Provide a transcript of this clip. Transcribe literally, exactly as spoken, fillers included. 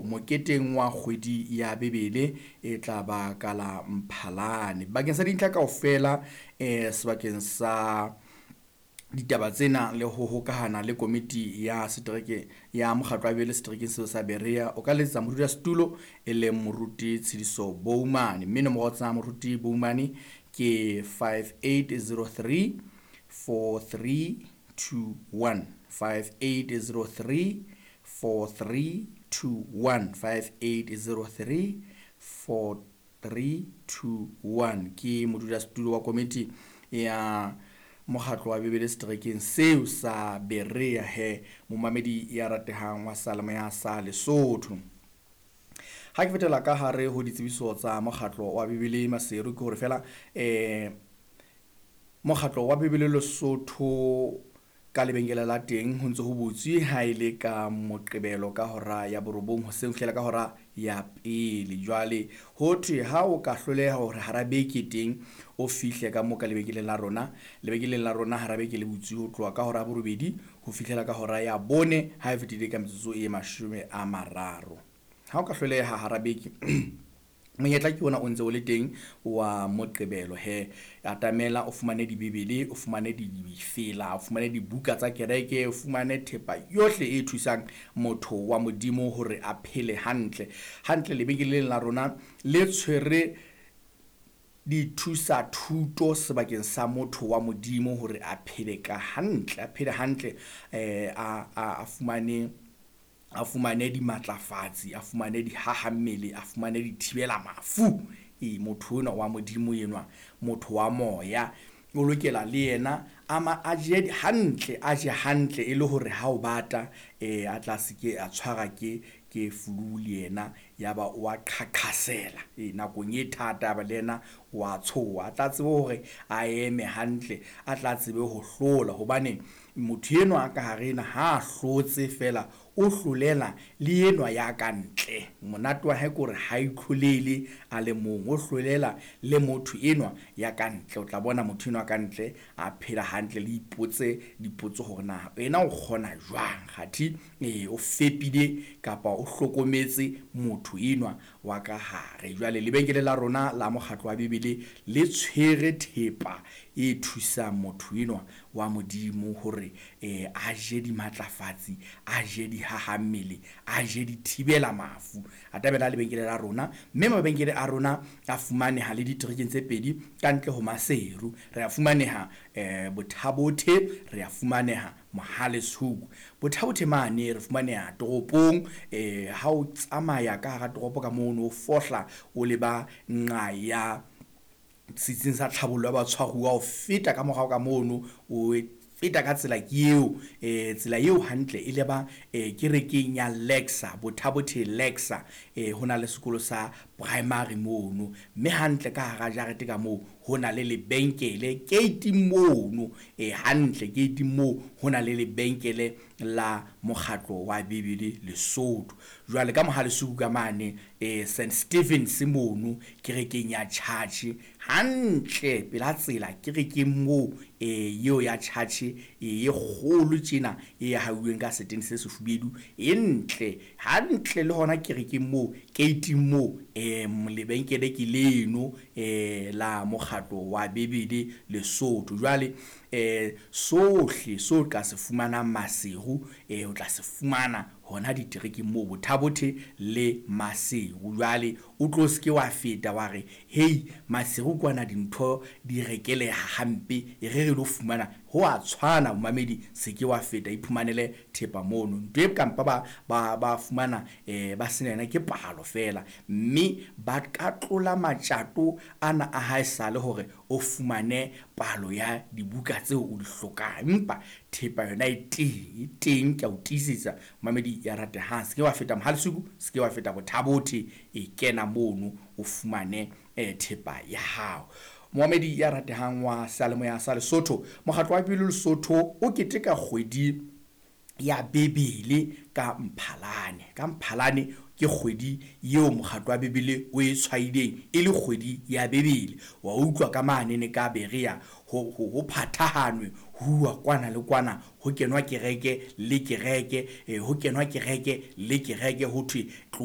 moketeng wa kgwedi ya Bibele e tla ba ka la Mphalane. Bakeng sa dintlha kaofela eh sebakeng sa ditaba tsena le ho hokahana le komiti ya setereke ya mokgatlo wa Bibele seterekeng seo sa Berea, o ka letsetsa modulasetulo e leng Moruti Tshidiso Boumane, mme nomoro tsa Moruti Boumane ke five eight zero three four three two one, five eight zero three four three two one, five eight zero three four three two one. Ke modulasetulo wa komiti ya mokgatlo wa Bibele seterekeng seo sa Berea. He momamedi ya ratehang wa Seyalemoya sa Lesotho, ha ke fetela ka hare ho ditsebiso tsa mokgatlo wa Bibele Maseru, ke hore fela eh mokgatlo wa Bibele Lesotho ka lebenkele la teng ho ntse ho butswe ha ile ka Moqebelo ka hora ya borobong hoseng ho fihlela ka hora ya pele. Jwale ho thwe ha o ka hloleha hore hara beke teng o fihle ka mo ka lebenkeleng la rona, lebenkeleng la rona hara beke le butswe ho tloha ka hora ya borobedi ho fihlela ka hora ya bone ha e fetile ka metsotso e mashome a mararo. Ha o ka hloleha hara beke monyetla ke ona o ntse o le teng wa Moqebelo. He atamela o fumane dibibele, o fumane difela, o fumane dibuka tsa kereke, o fumane thepa yohle e thusang motho wa Modimo hore a phele hantle. Hantle lebenkeleng la rona le tshwere dithusa thuto sebakeng sa motho wa Modimo hore a phele ka hantle, a phele hantle, eh a a fumane a fumane dimatlafatsi, a fumane dihahammele, a fumane dithibela mafu. E motho enwa wa Modimo enwa, motho wa moya, o lokela le yena a ma a je hantle, a je hantle e le hore ha o bata eh a tla se ke a tshwara ke ke flu le yena ya ba o a qhaqhasela. E nakong e thata ba le yena wa tshoha, a tla tsebe hore a eme hantle, a tla tsebe ho hlola, hobane motho enwa a ka hare ena ha hlotse fela o hlolela le enwa ya ka ntle. Monate wa hae ke hore ha itlholele a le mong, o hlolela le motho enwa ya ka ntle. O tla bona motho enwa ka ntle a phela hantle, le ipotse dipotso hore na ena o kgona jwang kgathi eh o fepile kapa o hlokometse motho enwa wa ka hare. Jwale lebenkele la rona la mokgatlo wa Bibele le tshwere thepa e thusang motho enwa wa Modimo hore eh a je dimatlafatsi, a je dihahammele, a je dithibela mafu. Atamela lebenkele la rona, mme mabenkele a rona a fumaneha le diterekeng tse pedi ka ntle ho Maseru. Re a fumaneha eh Bothabothe, re a fumaneha Mohale's Hoek. Bothabothe mane re fumaneha toropong, eh ha o tsamaya ka hara toropo ka mono o fohla o leba nqa ya setsing sa tlhabollo ya batshwaruwa, o feta ka morao ka mono o feta ka tsela ke eo eh tsela eo hantle e leba eh kerekeng ya Lexa, Bothabothe Lexa. Eh hona le sekolo sa primary mono, mme hantle ka hara jarete ka moo ho na le lebenkele gate mono, eh hantle gate moo ho na le lebenkele la mokgatlo wa Bibele Lesotho. Jwale ka Mohale's Hoek ka mane eh Saint Stephen's mono kerekeng ya church hantle pela tsela kerekeng moo eh eo ya church e kgolo tjena e hauweng ka setene se sefubedu e ntle hantle le hona kerekeng moo gate moo eh lebenkele ke leno eh la mokgatlo wa Bibele Lesotho. Jwale eh sohle so ka se fumanang Maseru eh o tla se fumana hona diterekeng moo Bothabothe le Maseru. Jwale o tlo se ke wa feta wa re hei Maseru kwana dintho di rekeleha hampe, e re re lo fumana ho a tshwana. Momamedi se ke wa feta, iphumanele thepa mono. Ntho e kampa ba ba ba fumana eh ba sena yona ke palo fela, mme ba ka tlola matjato ana a hae sale hore o fumane palo ya dibuka tseo o di hlokang, empa thepa yona e teng, e teng ke a o tiisetsa momamedi ya ratehang. Se ke wa feta Mohale's Hoek, se ke wa feta Bothabothe, e kena mono o fumane eh thepa ya hao. Momamedi ya ratehang wa Seyalemoya sa Lesotho, mokgatlo wa Bibele Lesotho o keteka kgwedi ya Bibele ka Mphalane. Ka Mphalane ke kgwedi eo mokgatlo wa Bibele o e tshwaileng e le kgwedi ya Bibele. Wa utlwa ka manene ka Berea ho ho phathahanwe huwa kwana le kwana, ho kenwa kereke le kereke, eh ho kenwa kereke le kereke, ho thwe